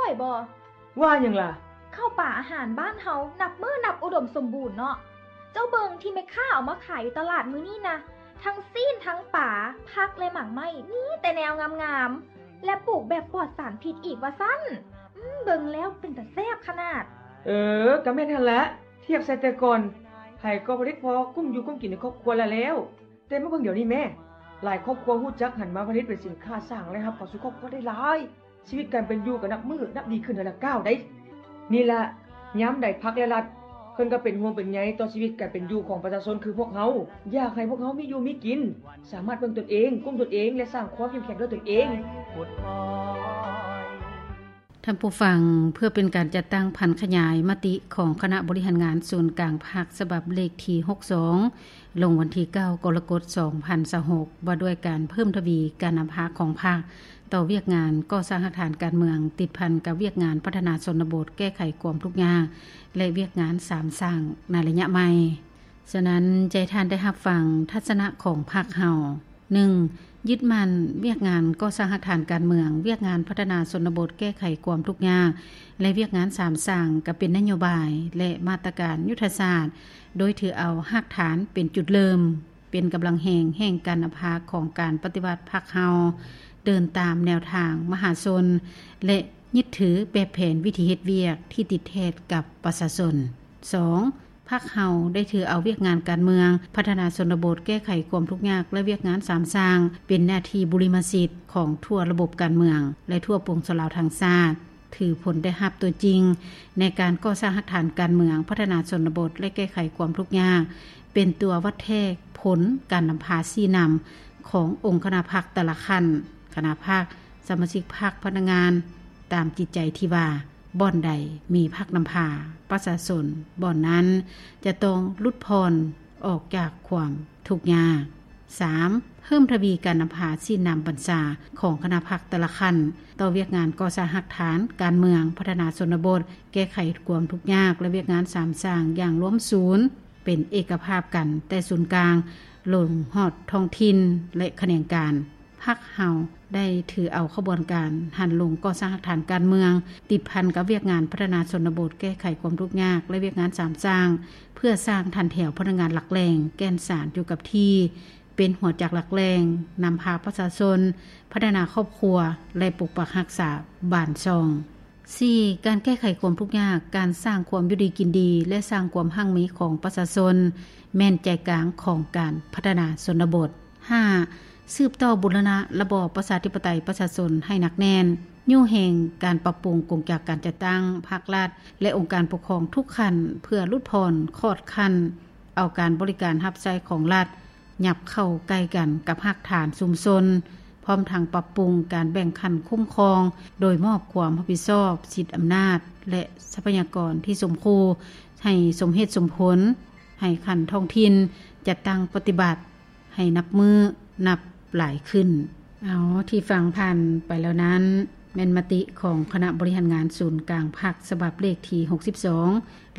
ໄປບໍ່? ວ່າຫຍັງລະ? ເຂົ້າປາອາຫານບ້ານເຮົານັບມື້ນັບອຸດົມສົມບູນເນາະ. ເຈົ້າເບິ່ງທີ່ແມ່ຄ້າເອົາມາຂາຍຢູ່ຕະຫຼາດມື້ນີ້ນະ, ທັງຊີ້ນ, ທັງປາ, ຜັກ ແລະ ໝາກໄມ້, ມີແຕ່ແນວງາມໆ ແລະ ປູກແບບປອດສານພິດອີກວ່າຊັ້ນ. ອືມ, ເບິ່ງແລ້ວເປັນຕາແຊບຂະໜາດ. ເອີ, ກະແມ່ນຫັ້ນແຫຼະ. ທຽບໃສ່ແຕ່ກ່ອນ, ໃຜກໍຜະລິດພໍກຸ້ມຢູ່ກຸ້ມກິນໃນຄອບຄົວລະແລ້ວ. ແຕ່ມາເບິ່ງດຽວນີ້ແມ້, ຫຼາຍຄອບຄົວຮູ້ຈັກຫັນມາຜະລິດເປັນສິນຄ້າສ້າງລາຍຮັບເຂົ້າສູ່ຄອບຄົວໄດ້ຫຼາຍ. ຊີວິດການເປັນຢູ່ກໍນັບມື້ນັບດີຂຶ້ນເທື່ອລະກ້າວໃດ໋. ນີ້ລະ, ຍາມໃດພັກ ແລະ ລັດ ເພິ່ນກໍເປັນຫ່ວງເປັນໃຍຕໍ່ຊີວິດການເປັນຢູ່ຂອງປະຊາຊົນຄືພວກເຮົາ, ຢາກໃຫ້ພວກເຮົາມີຢູ່ມີກິນ, ສາມາດເບິ່ງຕົນເອງ, ກຸ້ມຕົນເອງ ແລະ ສ້າງຄວາມເຂັ້ມແຂງດ້ວຍຕົນເອງ. ທ່ານຜູ້ຟັງ, ເພື່ອເປັນການຈັດຕັ້ງຜັນຂະຫຍາຍມະຕິຂອງຄະນະບໍລິຫານງານສູນກາງພັກ ສະບັບເລກທີຫົກສອງ ລົງວັນທີເກົ້າ ກໍລະກົດ ສອງພັນຊາວຫົກ ວ່າດ້ວຍການເພີ່ມທະວີການນຳພາຂອງພັກ ຕໍ່ວຽກງານກໍ່ສ້າງຮາກຖານການເມືອງ ຕິດພັນກັບວຽກງານພັດທະນາຊົນນະບົດ, ແກ້ໄຂຄວາມທຸກຍາກ ແລະ ວຽກງານສາມສ້າງໃນໄລຍະໃໝ່. ສະນັ້ນ, ຈະໃຫ້ທ່ານໄດ້ຮັບຟັງທັດສະນະຂອງພັກເຮົາ. ໜຶ່ງ, ຍຶດໝັ້ນວຽກງານກໍ່ສ້າງຮາກຖານການເມືອງ, ວຽກງານພັດທະນາຊົນນະບົດ, ແກ້ໄຂຄວາມທຸກຍາກ ແລະ ວຽກງານສາມສ້າງ ກະເປັນນະໂຍບາຍ ແລະ ມາດຕະການຍຸດທະສາດ, ໂດຍຖືເອົາຮາກຖານເປັນຈຸດເລີ່ມ, ເປັນກຳລັງແຮງແຫ່ງການນຳພາຂອງການປະຕິວັດພັກເຮົາ, ເດີນຕາມແນວທາງມະຫາຊົນ ແລະ ຍຶດຖືແບບແຜນວິທີເຮັດວຽກທີ່ຕິດແທດກັບປະຊາຊົນ. ສອງ, ພັກເຮົາໄດ້ຖືເອົາວຽກງານການເມືອງ, ພັດທະນາຊົນນະບົດ, ແກ້ໄຂຄວາມທຸກຍາກ ແລະ ວຽກງານສາມສ້າງ ເປັນໜ້າທີ່ບຸລິມະສິດຂອງທົ່ວລະບົບການເມືອງ ແລະ ທົ່ວປວງຊົນລາວທັງຊາດ, ຖືຜົນໄດ້ຮັບຕົວຈິງໃນການກໍ່ສ້າງຮາກຖານການເມືອງ, ພັດທະນາຊົນນະບົດ ແລະ ແກ້ໄຂຄວາມທຸກຍາກ ເປັນຕົວວັດແທກຜົນການນຳພາຊີ້ນຳຂອງອົງຄະນະພັກແຕ່ລະຂັ້ນ, ຄະນະພັກ, ສະມາຊິກພັກ, ພະນັກງານ, ຕາມຈິດໃຈທີ່ວ່າ ບ່ອນໃດມີພັກນຳພາປະຊາຊົນ, ບ່ອນນັ້ນຈະຕ້ອງຫຼຸດຜ່ອນອອກຈາກຄວາມທຸກຍາກ. ສາມ, ເພີ່ມທະວີການນຳພາຊີ້ນຳບັນຊາຂອງຄະນະພັກແຕ່ລະຂັ້ນ ຕໍ່ວຽກງານກໍ່ສ້າງຮາກຖານການເມືອງ, ພັດທະນາຊົນນະບົດ, ແກ້ໄຂຄວາມທຸກຍາກ ແລະ ວຽກງານສາມສ້າງຢ່າງລວມສູນ, ເປັນເອກະພາບກັນແຕ່ສູນກາງລົງຮອດທ້ອງຖິ່ນ ແລະ ຂະແໜງການ. ພັກເຮົາໄດ້ຖືເອົາຂະບວນການຫັນລົງກໍ່ສ້າງຮາກຖານການເມືອງ, ຕິດພັນກັບວຽກງານພັດທະນາຊົນນະບົດ, ແກ້ໄຂຄວາມທຸກຍາກ ແລະ ວຽກງານສາມສ້າງ ເພື່ອສ້າງຖັນແຖວພະນັກງານຫຼັກແຫຼ່ງ, ແກ່ນສານຢູ່ກັບທີ່, ເປັນຫົວຈັກຫຼັກແຫຼ່ງ, ນຳພາປະຊາຊົນ, ພັດທະນາຄອບຄົວ ແລະ ປົກປັກຮັກສາບ້ານຊ່ອງ. ສີ່, ການແກ້ໄຂຄວາມທຸກຍາກ, ການສ້າງຄວາມຢູ່ດີກິນດີ ແລະ ສ້າງຄວາມຮັ່ງມີຂອງປະຊາຊົນ ແມ່ນໃຈກາງຂອງການພັດທະນາຊົນນະບົດ. ຫ້າ, ສືບຕໍ່ບູລະນະລະບອບປະຊາທິປະໄຕປະຊາຊົນໃຫ້ໜັກແໜ້ນ, ຍູ້ແຮງການປັບປຸງກົງຈັກການຈັດຕັ້ງພັກລັດ ແລະ ອົງການປົກຄອງທຸກຂັ້ນ ເພື່ອຫຼຸດຜ່ອນຂອດຂັ້ນເອົາການບໍລິການຮັບໃຊ້ຂອງລັດ ຫຍັບເຂົ້າໃກ້ກັນກັບຮາກຖານຊຸມຊົນ, ພ້ອມທັງປັບປຸງການແບ່ງຂັ້ນຄຸ້ມຄອງ ໂດຍມອບຄວາມຮັບຜິດຊອບ, ສິດອຳນາດ ແລະ ຊັບພະຍາກອນທີ່ສົມຄູ່ໃຫ້ສົມເຫດສົມຜົນ, ໃຫ້ຂັ້ນທ້ອງຖິ່ນຈັດຕັ້ງປະຕິບັດໃຫ້ນັບມື້ນັບຫຼາຍຂຶ້ນ. ເອົາ, ທີ່ຟັງຜ່ານໄປແລ້ວນັ້ນ ແມ່ນມະຕິຂອງຄະນະບໍລິຫານງານສູນກາງພັກ ສະບັບເລກທີຫົກສິບສອງ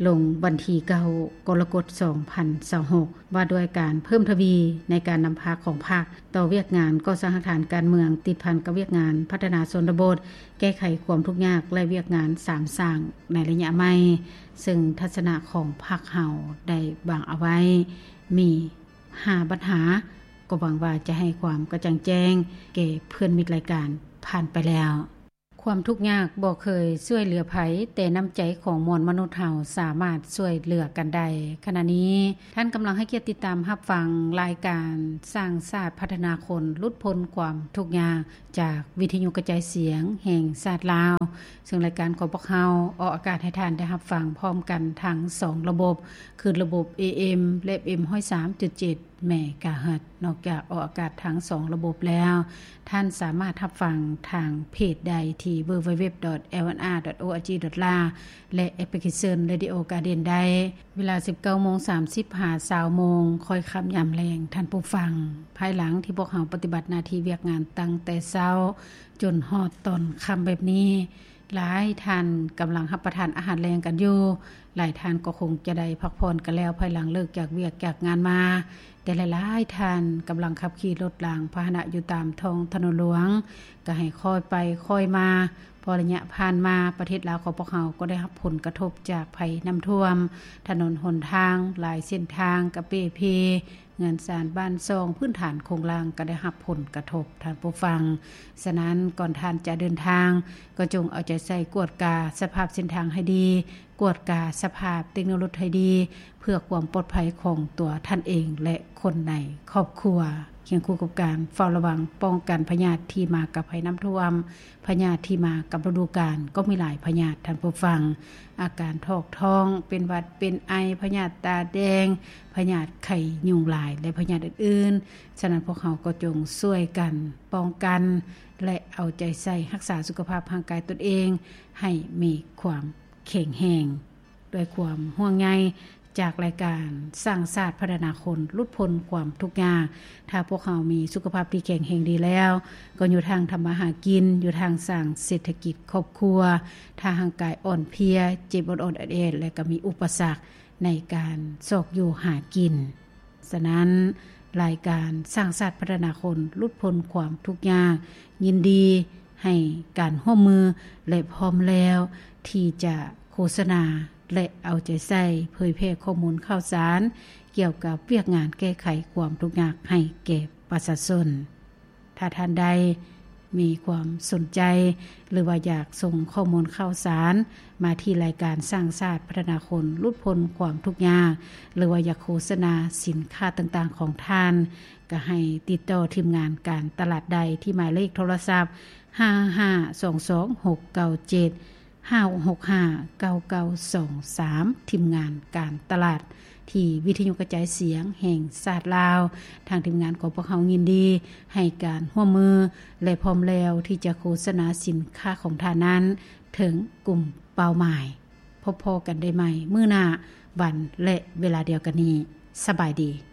ລົງວັນທີເກົ້າ ກໍລະກົດ ສອງພັນຊາວຫົກ ວ່າດ້ວຍການເພີ່ມທະວີໃນການນຳພາຂອງພັກຕໍ່ວຽກງານກໍ່ສ້າງຮາກຖານການເມືອງ ຕິດພັນກັບວຽກງານພັດທະນາຊົນນະບົດ, ແກ້ໄຂຄວາມທຸກຍາກ ແລະ ວຽກງານສາມສ້າງໃນໄລຍະໃໝ່, ເຊິ່ງທັດສະນະຂອງພັກເຮົາໄດ້ວາງເອົາໄວ້ມີຫ້າບັນຫາ, ກໍຫວັງວ່າຈະໃຫ້ຄວາມກະຈ່າງແຈ້ງແກ່ເພື່ອນມິດລາຍການຜ່ານໄປແລ້ວ. ຄວາມທຸກຍາກບໍ່ເຄີຍຊ່ວຍເຫຼືອໃຜ, ແຕ່ນ້ຳໃຈຂອງມວນມະນຸດເຮົາສາມາດຊ່ວຍເຫຼືອກັນໄດ້. ຂະນະນີ້ທ່ານກຳລັງໃຫ້ກຽດຕິດຕາມຮັບຟັງລາຍການສ້າງຊາດພັດທະນາຄົນ ຫຼຸດພົ້ນຄວາມທຸກຍາກ ຈາກວິທະຍຸກະຈາຍສຽງແຫ່ງຊາດລາວ, ເຊິ່ງລາຍການຂອງພວກເຮົາອອກອາກາດໃຫ້ທ່ານໄດ້ຮັບຟັງພ້ອມກັນທັງສອງລະບົບ, ຄືລະບົບ ເອເອັມ ແລະ ເອັຟເອັມ ຮ້ອຍສາມຈຸດເຈັດ ເມກາເຮີດ. ນອກຈາກອອກອາກາດທັງສອງລະບົບແລ້ວ, ທ່ານສາມາດຮັບຟັງທາງເພຈໄດ້ທີ່ www.lmr.org.la ແລະ ແອັບພລິເຄຊັນ Radio Garden ໄດ້ ເວລາ ສິບເກົ້າໂມງສາມສິບ ຫາ ຊາວໂມງ ຄ່ອຍຄ່ຳຍາມແລງ, ທ່ານຜູ້ຟັງ. ພາຍຫຼັງທີ່ພວກເຮົາປະຕິບັດໜ້າທີ່ວຽກງານຕັ້ງແຕ່ເຊົ້າຈົນຮອດຕອນຄ່ຳແບບນີ້, ຫຼາຍທ່ານກຳລັງຮັບປະທານອາຫານແລງກັນຢູ່, ຫຼາຍທ່ານກໍຄົງຈະໄດ້ພັກຜ່ອນກັນແລ້ວ ພາຍຫຼັງເລີກຈາກວຽກຈາກງານມາ, ແຕ່ຫຼາຍໆທ່ານກຳລັງຂັບຂີ່ລົດລາງພາຫະນະຢູ່ຕາມທ້ອງຖະໜົນຫຼວງ, ກໍໃຫ້ຄ່ອຍໄປຄ່ອຍມາ, ເພາະໄລຍະຜ່ານມາປະເທດລາວຂອງພວກເຮົາກໍໄດ້ຮັບຜົນກະທົບຈາກໄພນ້ຳຖ້ວມ, ຖະໜົນຫົນທາງຫຼາຍເສັ້ນທາງກະເປ່ເພ, ເຮືອນຊານບ້ານຊ່ອງ ພື້ນຖານໂຄງລ່າງກໍໄດ້ຮັບຜົນກະທົບ, ທ່ານຜູ້ຟັງ. ສະນັ້ນ, ກ່ອນທ່ານຈະເດີນທາງ, ກໍຈົ່ງເອົາໃຈໃສ່ກວດກາສະພາບເສັ້ນທາງໃຫ້ດີ, ກວດກາສະພາບເຕັກໂນລົດໃຫ້ດີ ເພື່ອຄວາມປອດໄພຂອງຕົວທ່ານເອງ ແລະ ຄົນໃນຄອບຄົວ, ຄຽງຄູ່ກັບການເຝົ້າລະວັງປ້ອງກັນພະຍາດທີ່ມາກັບໄພນ້ຳຖ້ວມ. ພະຍາດທີ່ມາກັບລະດູການກໍມີຫຼາຍພະຍາດ, ທ່ານຜູ້ຟັງ. ອາການຖອກທ້ອງ, ເປັນຫວັດ, ເປັນໄອ, ພະຍາດຕາແດງ, ພະຍາດໄຂ້ຍຸງລາຍ ແລະ ພະຍາດອື່ນໆ. ສະນັ້ນ, ພວກເຮົາກໍຈົ່ງຊ່ວຍກັນປ້ອງກັນ ແລະ ເອົາໃຈໃສ່ຮັກສາສຸຂະພາບຮ່າງກາຍຕົນເອງໃຫ້ມີຄວາມແຂງແຮງ. ດ້ວຍຄວາມຫ່ວງໃຍຈາກລາຍການສ້າງຊາດພັດທະນາຄົນ ຫຼຸດພົ້ນຄວາມທຸກຍາກ. ຖ້າພວກເຮົາມີສຸຂະພາບທີ່ແຂງແຮງດີແລ້ວ, ກໍຢູ່ທາງທຳມາຫາກິນ, ຢູ່ທາງສ້າງເສດຖະກິດຄອບຄົວ. ຖ້າຮ່າງກາຍອ່ອນເພຍ, ເຈັບອອດໆແອດໆ ແລະ ກໍມີອຸປະສັກໃນການຊອກຢູ່ຫາກິນ. ສະນັ້ນ, ລາຍການສ້າງຊາດພັດທະນາຄົນ ຫຼຸດພົ້ນຄວາມທຸກຍາກ ຍິນດີໃຫ້ການຮ່ວມມື ແລະ ພ້ອມແລ້ວທີ່ຈະໂຄສະນາ ແລະ ເອົາໃຈໃສ່ເຜີຍແຜ່ຂໍ້ມູນຂ່າວສານກ່ຽວກັບວຽກງານແກ້ໄຂຄວາມທຸກຍາກໃຫ້ແກ່ປະຊາຊົນ. ຖ້າທ່ານໃດມີຄວາມສົນໃຈ ຫຼືວ່າຢາກສົ່ງຂໍ້ມູນຂ່າວສານມາທີ່ລາຍການສ້າງຊາດພັດທະນາຄົນ ຫຼຸດພົ້ນຄວາມທຸກຍາກ ຫຼືວ່າຢາກໂຄສະນາສິນຄ້າຕ່າງໆຂອງທ່ານ, ກໍໃຫ້ຕິດຕໍ່ທີມງານການຕະຫຼາດໄດ້ທີ່ໝາຍເລກໂທລະສັບ ຫ້າຫ້າສອງສອງຫົກເກົ້າເຈັດ ຫ້າຫົກຫ້າເກົ້າເກົ້າສອງສາມ ທີມງານການຕະຫຼາດ ທີ່ວິທະຍຸກະຈາຍສຽງແຫ່ງຊາດລາວ. ທາງທີມງານຂອງພວກເຮົາຍິນດີໃຫ້ການຮ່ວມມື ແລະ ພ້ອມແລ້ວທີ່ຈະໂຄສະນາສິນຄ້າຂອງທ່ານນັ້ນເຖິງກຸ່ມເປົ້າໝາຍ. ພົບພໍ້ກັນໄດ້ໃໝ່ມື້ໜ້າ ວັນ ແລະ ເວລາດຽວກັນນີ້. ສະບາຍດີ.